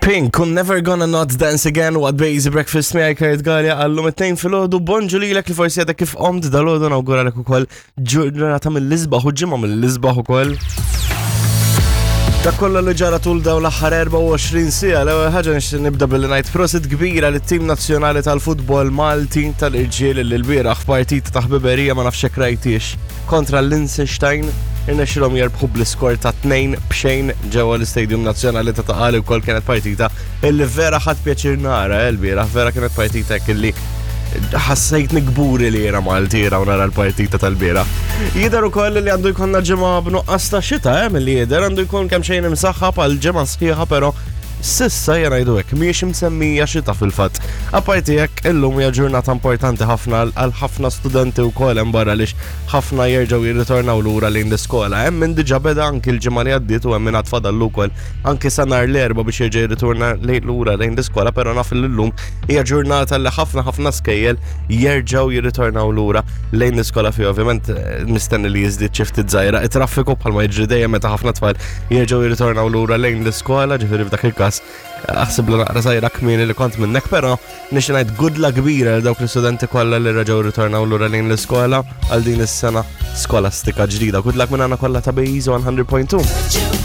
Pink, un Never Gonna Not Dance Again, what Bazy Breakfast miegħi Kurt Gallia għallum it-tnejn filgħodu bonġu lilek li forsi għadek kif qomt dal-għodu nawguralek ukoll ġurnata mill-isbaħ u ġimgħa mill-isbaħ ukoll. Dak kollu li ġara tul dawn l-aħħar 24 siegħa, l-ewwel ħaġa nixtieq nibda billi ngħid prosit kbira lit-tim nazzjonali tal-futbol Malti tal-irġiel li l-bieraħ f'partita ta' ħbiberija ma nafx hekk rajtiex kontra l-Liechtenstein irnexxilhom jerbħu bl-iskor ta' 2 b'xejn ġewwa l-Istadium Nazzjonali ta' Ta' Qali wkoll kienet partita illi vera ħadd pjaċir nara eh, l-bieraħ, vera kienet partita hekk illi ħassejtni kburi li jiena Malti jiena u nara l-partita tal-bieraħ. Jidher ukoll li għandu jkollna ġimgħa b'nuqqas ta' xita eh, milli jidher għandu jkun kemm xejn imsaħħab għal ġimgħa sħiħa però Sissa jena jgħidu hekk mhijiex imsemmija xita fil-fatt. Apparti hekk illum hija ġurnata importanti ħafna għal ħafna studenti wkoll hemm barra lix ħafna jerġgħu jirritornaw lura lejn l-iskola. Hemm min diġà beda anki l-ġimgħa li għaddiet u hemm min għad fadallu wkoll anki sa nhar l-Erbgħa biex jerġa' jirritorna lura lejn l-iskola, però naf li llum hija ġurnata li ħafna ħafna skejjel jerġgħu jirritornaw lura lejn l-iskola fi ovvjament eh, mistenni li jiżdied xi ftit żgħira it-traffiku bħalma jiġri dejjem meta ħafna tfal jerġgħu jirritornaw lura lejn l-iskola, ġifieri f'dak il-każ eh, aħsiblu naqra żgħira kmieni li kont minnek, però nixtieq ngħid good luck kbira għal dawk l-istudenti kollha li reġgħu rritornaw lura lejn l-iskola għal din is-sena skolastika ġdida. Good luck minn għandna kollha ta' Bejz 100.2.